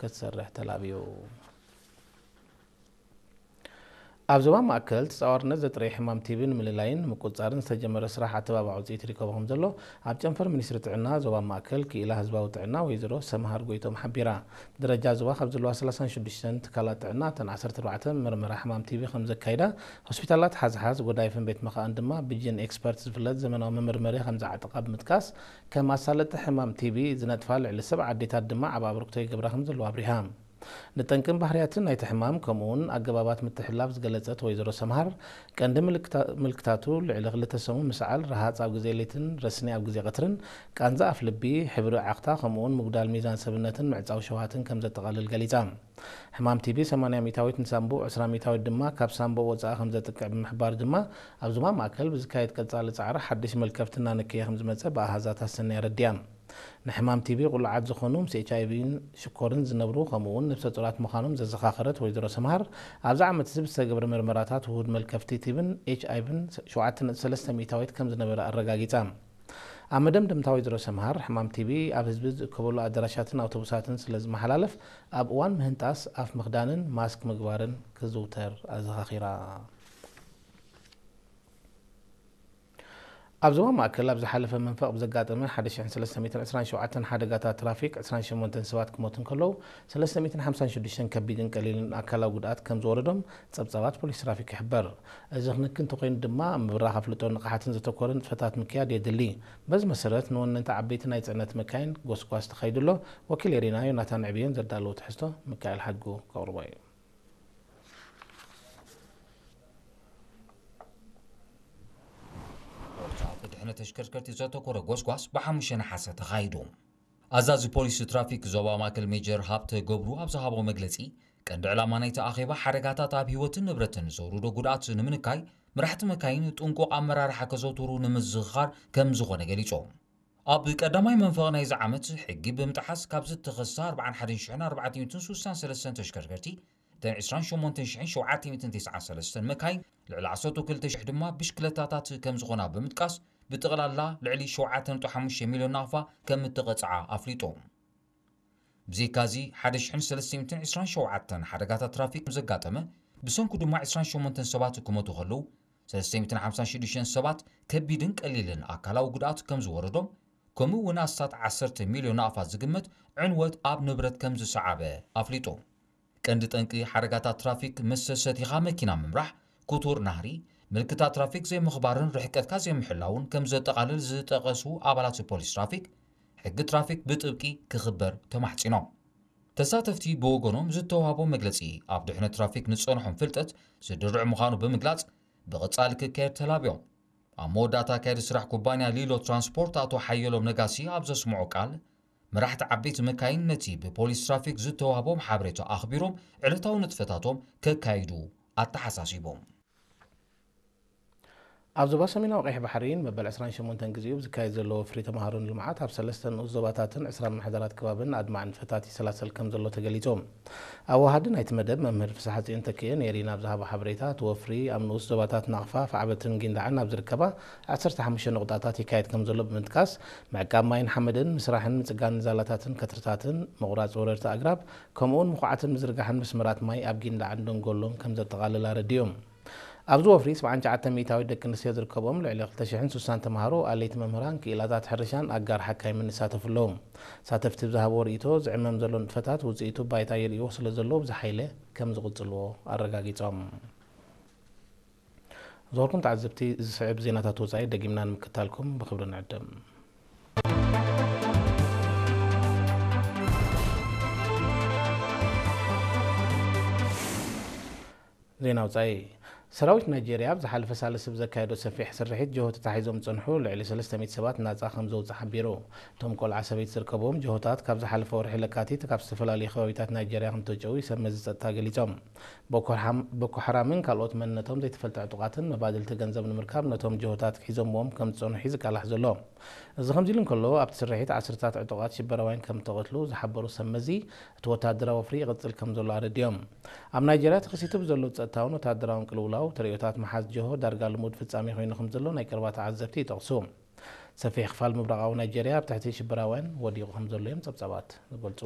ክትሰርሕ ተላብዩ። ኣብ ዞባ ማእከል ተጻዋርነት ዘጥረየ ሕማም ቲቢ ንምልላይን ንምቁጽጻርን ዝተጀመረ ስራሕ ኣተባባዕ ውጽኢት ይርከቦ ከም ዘሎ ኣብ ጨንፈር ሚኒስትሪ ጥዕና ዞባ ማእከል ክኢላ ህዝባዊ ጥዕና ወይዘሮ ሰምሃር ጎይቶም ሓቢራ። ደረጃ ዞባ ካብ ዘለዋ ሰላሳን ሽዱሽተን ትካላት ጥዕና እተን ዓሰርተ ኣርባዕተ መርመራ ሕማም ቲቢ ከም ዘካይዳ፣ ሆስፒታላት ሓዝሓዝ፣ ጎዳይፍን ቤት መኻእን ድማ ብጂን ኤክስፐርት ዝፍለጥ ዘመናዊ መመርመሪ ከም ዝዓጠቓ ብምጥቃስ፣ ከም ኣሳለጥቲ ሕማም ቲቢ ዝነጥፋ ልዕሊ ሰብዓ ኣዴታት ድማ ዓቢ ኣበርክቶ ይገብራ ከም ዘለዋ ኣብሪሃ። ንጠንቅን ባህርያትን ናይቲ ሕማም ከምኡውን ኣገባባት ምትሕልላፍ ዝገለጸት ወይዘሮ ሰምሃር፣ ቀንዲ ምልክታ-፣ ምልክታቱ ልዕሊ ክልተ ሰሙን ምስዓል፣ ረሃጽ ኣብ ግዜ ለይትን ረስኒ ኣብ ግዜ ቀትርን፣ ቃንዛ ኣፍ ልቢ፣ ሕብሪ ዓኽታ ከምኡውን ምጉዳል ሚዛን ሰብነትን ምዕጻው ሸውሃትን ከም ዘጠቓልል ገሊጻ። ሕማም ቲቢ ሰማንያ ሚእታዊት ንሳምቡእ፣ ዕስራ ሚእታዊት ድማ ካብ ሳምቡእ ወጻኢ ከም ዘጥቅዕ ብምሕባር ድማ፣ ኣብ ዞባ ማእከል ብዝካየድ ቀጻሊ ጻዕሪ ሓድሽ መልከፍቲ እናነከየ ከም ዝመጸ ብኣሃዛት ኣሰንያ ኣረዲኣ። ንሕማም ቲቢ ቁሉዓት ዝኾኑ ምስ ኤች ኣይ ቪን ሽኮርን ዝነብሩ ከምኡ እውን ነብሰ ጡራት ምዃኖም ዘዘኻኸረት ወይዘሮ ሰምሃር፣ ኣብዚ ዓመት እዚ ብዝተገብረ መርመራታት ውሁድ መልከፍቲ ቲብን ኤች ኣይ ቪን ሸውዓተ ነጥቢ ሰለስተ ሚእታዊት ከም ዝነበረ ኣረጋጊጻ። ኣብ መደምደምታ ወይዘሮ ሰምሃር፣ ሕማም ቲቢ ኣብ ህዝቢ ዝእከበሉ ኣዳራሻትን ኣውቶቡሳትን ስለ ዝመሓላለፍ፣ ኣብ እዋን ምህንጣስ ኣፍ ምኽዳንን ማስክ ምግባርን ክዝውተር ኣዘኻኺራ። ኣብ ዞባ ማእከል ኣብ ዝሓለፈ መንፈቕ ብዘጋጠመ ሓደ ሽሕን ሰለስተ ሚእትን ዕስራን ሸውዓተን ሓደጋታት ትራፊክ ዕስራን ሸሞንተን ሰባት ክሞቱ እንከለዉ፣ ሰለስተ ሚእትን ሓምሳን ሽዱሽተን ከቢድን ቀሊልን ኣካላዊ ጉድኣት ከም ዝወረዶም ጸብጻባት ፖሊስ ትራፊክ ይሕበር። እዚ ክንክን እንተኾይኑ ድማ፣ ኣብ ምብራኽ ኣፍልጦን ንቕሓትን ዘተኮረ ንጥፈታት ምክያድ የድሊ። በዚ መሰረት፣ ንወነንቲ ዓበይቲ ናይ ጽዕነት መካይን ጎስጓስ ተኻይዱ ኣሎ። ወኪል ኤሪና ዮናታን ዕብዮን ዘዳለዎ ትሕዝቶ ሚካኤል ሓድጉ ከቕርቦ እዩ። ኣብ ድሕነት ተሽከርከርቲ ዘተኮረ ጎስጓስ ብሓሙሽተ ነሓሰ ተኻይዱ። ኣዛዚ ፖሊስ ትራፊክ ዞባ ማእከል ሜጀር ሃብተ ገብሩ ኣብ ዝሃቦ መግለጺ፣ ቀንዲ ዕላማ ናይቲ ኣኼባ ሓደጋታት ኣብ ህይወትን ንብረትን ዘውርዶ ጉድኣት ንምንካይ፣ መራሕቲ መካይን ጥንቁቕ ኣመራርሓ ከዘውትሩ ንምዝኽኻር ከም ዝኾነ ገሊጾም። ኣብ ቀዳማይ መንፈቕ ናይዚ ዓመት፣ ሕጊ ብምጥሓስ ካብ ዝተኸሳ ኣርባዓን ሓደን ሽሕን ኣርባዕተ ሚእትን ስሳን ሰለስተን ተሽከርከርቲ፣ እተን ዕስራን ሸሞንተን ሽሕን ሸውዓተ ሚእትን ተስዓን ሰለስተን መካይን፣ ልዕሊ ዓሰርተ ክልተ ሽሕ ድማ ብሽክለታታት ከም ዝኾና ብምጥቃስ፣ ብጠቕላላ ልዕሊ ሸውዓተ ነጥቢ ሓሙሽተ ሚልዮን ናቕፋ ከም እተቐጽዓ ኣፍሊጡ። ብዘይካዚ፣ ሓደ ሽሕን ሰለስተ ሚእትን ዕስራን ሸውዓተን ሓደጋታት ትራፊክ ከም ዘጋጠመ፣ ብሰንኩ ድማ ዕስራን ሸሞንተን ሰባት ክሞቱ ከለዉ፣ ሰለስተ ሚእትን ሓምሳን ሽዱሽተን ሰባት ከቢድን ቀሊልን ኣካላዊ ጉድኣት ከም ዝወረዶም፣ ከምኡ እውን ኣስታት ዓሰርተ ሚልዮን ናቕፋ ዝግመት ዕንወት ኣብ ንብረት ከም ዝሰዓበ ኣፍሊጡ። ቀንዲ ጠንቂ ሓደጋታት ትራፊክ ምስ ሰቲኻ መኪና ምምራሕ፣ ክቱር ናህሪ፣ ምልክታት ትራፊክ ዘይምኽባርን ርሕቀትካ ዘይምሕላውን ከም ዘጠቓልል ዝጠቐሱ ኣባላት ፖሊስ ትራፊክ፣ ሕጊ ትራፊክ ብጥብቂ ክኽበር ተማሕጺኖም። ተሳተፍቲ ብወገኖም ዝተዋህቦ መግለጺ፣ ኣብ ድሕነት ትራፊክ ንጸንሖም ፍልጠት ዝድርዕ ምዃኑ ብምግላጽ፣ ብቐጻሊ ክካየድ ተላብዮም። ኣብ መወዳእታ ኣካያዲ ስራሕ ኩባንያ ሊሎ ትራንስፖርት ኣቶ ሓየሎም ነጋሲ ኣብ ዘስምዖ ቃል፣ መራሕቲ ዓበይቲ መካይን ነቲ ብፖሊስ ትራፊክ ዝተዋህቦም ሓበሬታ ኣኽቢሮም ዕለታዊ ንጥፈታቶም ከካይዱ ኣተሓሳሲቦም። ኣብ ዞባ ሰሜናዊ ቀይሕ ባሕሪ ንመበል ዕስራን ሸሞንተን ግዜኡ ብዝካየድ ዘሎ ወፍሪ ተምሃሮ ንልምዓት ኣብ ሰለስተ ንኡስ ዞባታትን ዕስራ ምምሕዳራት ከባብን ኣድማዒ ንጥፈታት ይሰላሰል ከም ዘሎ ተገሊጹ። ኣወሃዲ ናይቲ መደብ መምህር ፍስሓጽዮን ተኪኤ ነይሪ ናብ ዝሃቦ ሓበሬታ፣ እቲ ወፍሪ ኣብ ንኡስ ዞባታት ናቕፋ፣ ፋዕበትን ጊንዳዕን ኣብ ዝርከባ ዓሰርተ ሓሙሽተ ነቑጣታት ይካየድ ከም ዘሎ ብምጥቃስ፣ ምዕቃብ ማይን ሓመድን፣ ምስራሕን ምጽጋንን ዛላታትን ከትርታትን፣ ምቑራጽ ወረርቲ ኣግራብ፣ ከምኡውን ምኹዓትን ምዝርጋሕን መስመራት ማይ ኣብ ጊንዳዕን ደንጎሎን ከም ዘጠቓልል ኣረዲኡ። ኣብዚ ወፍሪ ሰብዓን ትሽዓተን ሚእታዊት ደቂ ኣንስትዮ ዝርከብኦም ልዕሊ ክልተ ሽሕን ስሳን ተምሃሮ፣ ኣለይቲ መምህራን፣ ክኢላታት ሕርሻን ኣጋር ሓካይምን ይሳተፉ ኣለዉ። ሳተፍቲ ብዝሃብዎ ርእይቶ፣ ዝዕመም ዘሎ ንጥፈታት ውጽኢቱ ባይታ የርእይዎ ስለ ዘለዉ፣ ብዝሓይለ ከም ዝቕጽልዎ ኣረጋጊጾም። ዝኸበርኩም ተዓዘብቲ፣ ዝስዕብ ዜናታት ወጻኢ ደጊምና ንምክታልኩም ብኽብሪ ንዕድም። ዜና ወጻኢ። ሰራዊት ናይጄርያ ኣብ ዝሓለፈ ሳልስቲ ብዘካየዶ ሰፊሕ ስርሒት ጅሆ ተታሒዞም ዝጸንሑ ልዕሊ ሰለስተ ሚእቲ ሰባት ናጻ ከም ዘውጽእ ሓቢሩ። እቶም ቆልዓ ሰበይቲ ዝርከብዎም ጅሆታት ካብ ዝሓለፈ ወርሒ ለካቲት ካብ ዝተፈላለዩ ከባቢታት ናይጄርያ ከም ተጨው እዩ ሰብ መዚ ጸጥታ ገሊጾም። ቦኮ ሓራም-፣ ቦኮ ሓራምን ካልኦት መንነቶም ዘይተፈልጠ ዕጡቓትን መባድልቲ ገንዘብ ንምርካብ ነቶም ጅሆታት ክሒዞምዎም ከም ዝጸንሑ እዩ ዝቃላሕ ዘሎ። እዚ ከምዚ ኢሉ እንከሎ፣ ኣብቲ ስርሒት ዓሰርታት ዕጡቓት ሽበራውያን ከም እተቐትሉ ዝሓበሩ ሰብ መዚ፣ እቲ ወታደራዊ ወፍሪ ይቕጽል ከም ዘሎ ኣረዲኦም። ኣብ ናይጄርያ ተኸሲቱ ብዘሎ ጸጥታውን ወታደራውን ቅልውላው፣ ተርእዮታት ምሓዝ ጅሆ ዳርጋ ልሙድ ፍጻሜ ኮይኑ ከም ዘሎ ናይ ቀረባ ተዓዘብቲ ይጠቕሱ። ሰፊሕ ክፋል ምብራቓዊ ናይጄርያ ኣብ ትሕቲ ሽበራውያን ወዲቑ ከም ዘሎ እዮም ጸብጻባት ዝገልጹ።